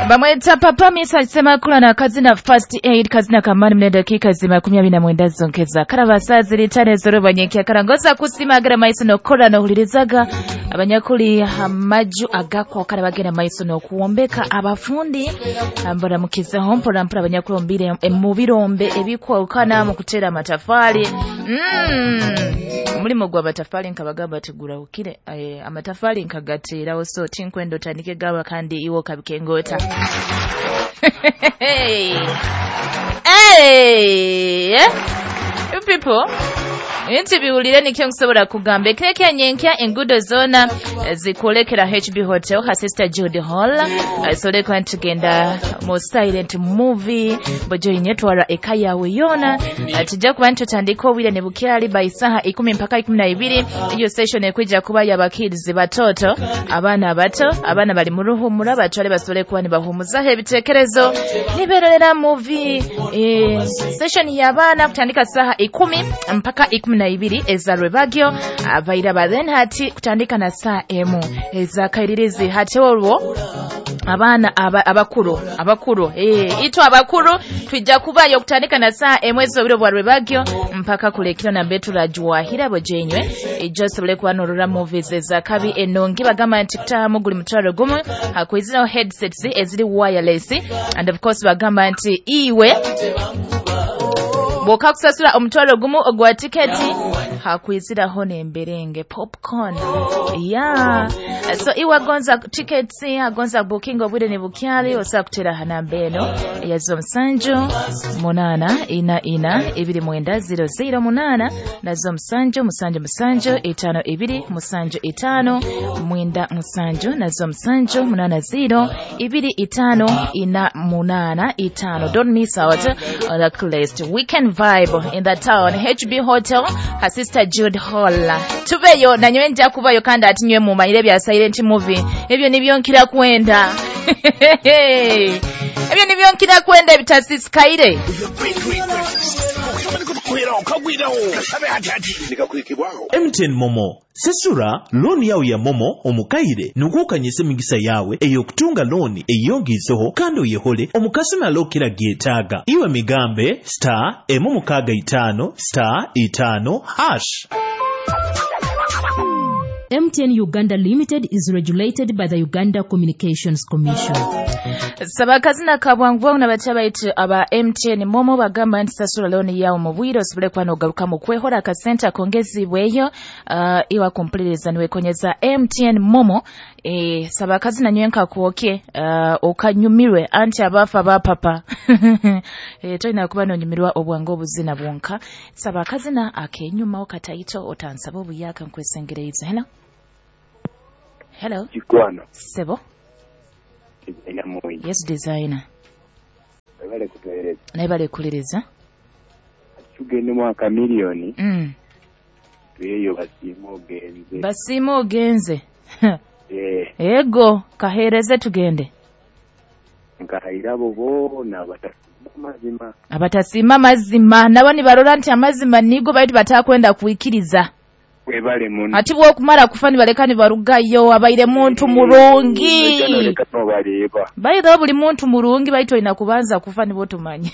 Bamweta Papa Misa Semakula na kazina First Aid, kazina kamani mne dakika zima 29 zonkeza karabasa zilitane zoroba nyekia karangoza kusimagara maiso nokora nohulirizaga abanyakuli amaju agakwa kare bagenda maiso nokuwombeka abafundi mbaramukizaho mpora mpora abanyakulombire mu birombe ebikwawukana mu kutera amatafali. Omulimo gwa matafali nkabagamba tigurahukire, amatafali nkagaterawo, so tinkwenda otandike gaba kandi iwo kabikengota. Hey. Hey. You people, nti biwulire nikyo nkusobola kugamba ekireka nyenkya enguudo zoona zikwolekera HB Hotel ha Sister Jude Hall, solekwa ntugenda mu silent movie bojoyinye twara eka yawe yona. Tujja kuba ntutandika obwire ne bukyali by saha 10 mpaka 12. Iyo session ekwijja kuba y'abakids batoto, abaana abato, abaana bali mu ruhumura batwale basobole kuba nibahumuzaho ebitekerezo nibererera movie. Session y'abaana kutandika saha 10 mpaka 12 ezarwebagyo abaira then hati kutandika na saa emu ezakairirizi hati olwo abaana abakuru ito abakuru twijja kubayo kutandika na saa emu ezobiro bwa rwebagyo mpaka kulekira na betula juwahira bojenywe ejosobole kuba norora movies ezakabi enongi bagamba nti kutahamu guli mutwaro gumu hakwiziraho headsets eziri wireless, and of course bagamba nti iwe boka kusasula omutwaro gumu ogwa tiketi hakwiziraho nemberenge popcorn. Yeah, so iwe gonza tickets agonza booking obwire ne bukyali osa kutera hanamba eno ya 07 8 4 4 2 0 0 8 na 07 7 7 5 2 7 5 9 7 na 07 8 0 2 5 4 8 5. Don't miss out on the coolest weekend vibe in the town, HB Hotel ha Sister Jude Hall. Tubeyo nanywe nja kubayo kandi atinywe mumanyire bya silent movie ebyo nibyo nkira kwenda. Ebyo nibyo nkira kwenda bitasisikaire. MTN Momo sesura looni yawe ya Momo omukaire nukukanyisa emigisa yawe eyokutunga looni eyongizeho kandi oyehole omukasumi alokera gyetaaga iwe migambe star 6 star 5 hash. MTN Uganda Limited is regulated by the Uganda Communications Commission. Sabakazina kabwangu na bacha aba MTN Momo bagamba nti sasula looni yawo mu bwire osobole kuba n'ogaruka mu kwehora akasente akongezibweyo iwa kumpuliriza niwekonyeza MTN Momo. Sabakazina nywenka kuoke okanyumirwe anti abafa bapapa. Tolina kuba n'onyumirwa obwangu obuzina bwonka. Sabakazina akenyuma okataito otansaba obuyaka nkwesengereize. Hello. Hello. Kikwano. Sebo. Designer. Yes, designer. Ebale kutueleza. Naibale kuliriza. Tugende mwaka milioni. Tuyeyo basimu ogenze. Basimu ogenze. Ego kahereze tugende. Nkahirabo bona batasima mazima. Abatasima mazima nabo ni barora nti amazima nigo baitu batakwenda kuikiriza. Webale muno. Ati bwokumara kufa nibaleka nibarugayo abaire muntu murungi. Baitho buli muntu murungi baito ina kubanza kufa nibo tumanye.